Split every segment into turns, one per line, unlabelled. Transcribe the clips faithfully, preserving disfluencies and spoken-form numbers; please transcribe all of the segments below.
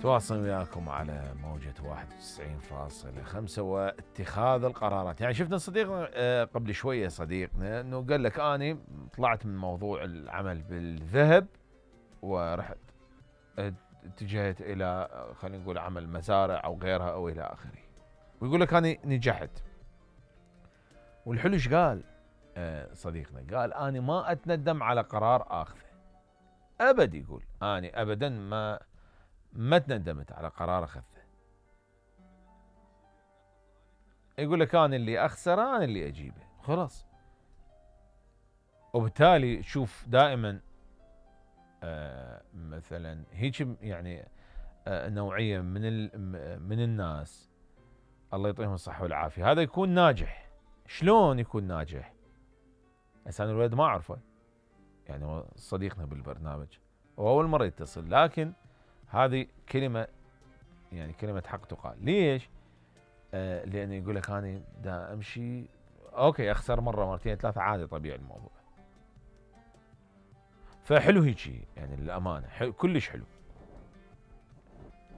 تواصل وياكم على موجة واحد وتسعين فاصلة خمسة واتخاذ القرارات. يعني شفنا صديقنا قبل شوية صديقنا انه قال لك اني طلعت من موضوع العمل بالذهب ورحت اتجهت الى خلينا نقول عمل مزارع او غيرها او الى اخره، ويقول لك اني نجحت. والحلو ايش قال صديقنا؟ قال اني ما اتندم على قرار اخذه ابد. يقول اني ابدا ما ما تندمت على قرار اخذته. يقول لك انا اللي اخسره انا اللي اجيبه خلاص. وبالتالي شوف دائما آه مثلا هيك يعني آه نوعيه من من الناس الله يعطيهم الصحه والعافيه، هذا يكون ناجح. شلون يكون ناجح؟ هسه انا الولد ما اعرفه، يعني هو صديقنا بالبرنامج واول مره يتصل، لكن هذه كلمه يعني كلمه حق تقال. ليش؟ آه لانه يقول لك انا دا امشي اوكي اخسر مره مرتين ثلاثه عادي طبيعي الموضوع. فحلو هيجي يعني للامانه حلو كلش حلو.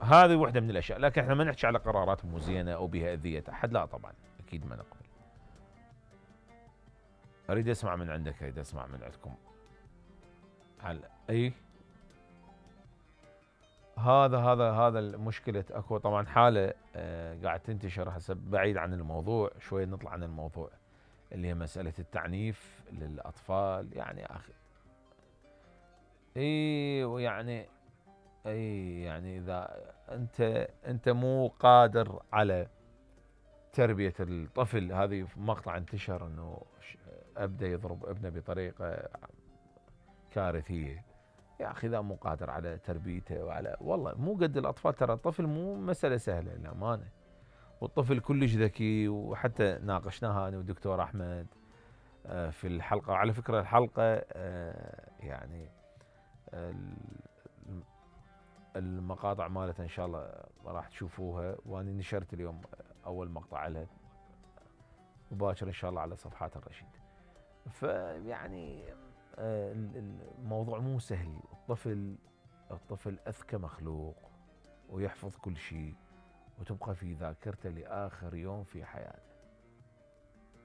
هذه وحده من الاشياء، لكن احنا ما نحكي على قرارات مو زينه او بها اذيه احد، لا طبعا اكيد ما نقبل. اريد اسمع من عندك، اريد اسمع من عندكم على اي هذا هذا هذا المشكله. اكو طبعا حاله آه قاعد تنتشر هسه بعيد عن الموضوع شويه، نطلع عن الموضوع اللي هي مساله التعنيف للاطفال. يعني اخي اي ويعني اي يعني اذا انت انت مو قادر على تربيه الطفل، هذه مقطع انتشر انه ابدا يضرب ابنه بطريقه كارثيه. يا اخي اذا مو قادر على تربيته وعلى والله مو قد الاطفال، ترى الطفل مو مساله سهله للامانه، والطفل كلش ذكي. وحتى ناقشناها انا والدكتور احمد في الحلقه، وعلى فكره الحلقه يعني المقاطع مالتها ان شاء الله راح تشوفوها، وانا نشرت اليوم اول مقطع لها مباشر ان شاء الله على صفحات الرشيد. فيعني الموضوع مو سهل. الطفل الطفل اذكى مخلوق ويحفظ كل شيء وتبقى في ذاكرته لاخر يوم في حياته.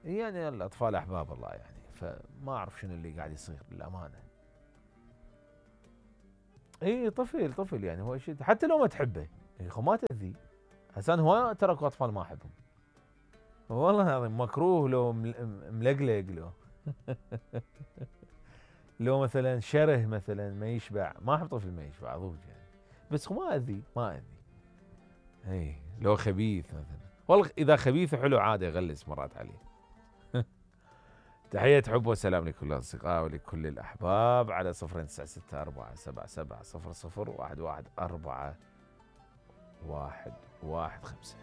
يعني الاطفال احباب الله يعني، فما اعرف شنو اللي قاعد يصير للامانه. اي طفل طفل يعني هو شيء حتى لو ما تحبه يا اخو ما تاذيه. هسه انا هواي تركوا اطفال ما احبهم والله العظيم، مكروه لو ملقلق لو لو مثلا شره مثلا ما يشبع، ما احب طفل ما يشبع ضوج يعني، بس ما اذي ما اذي. اي لو خبيث مثلا، والله اذا خبيث حلو عادي اغلس مرات عليه. تحية حب وسلام لكل الأصدقاء ولكل الأحباب على صفر تسعة ستة أربعة سبعة سبعة صفر صفر واحد واحد أربعة واحد واحد خمسة.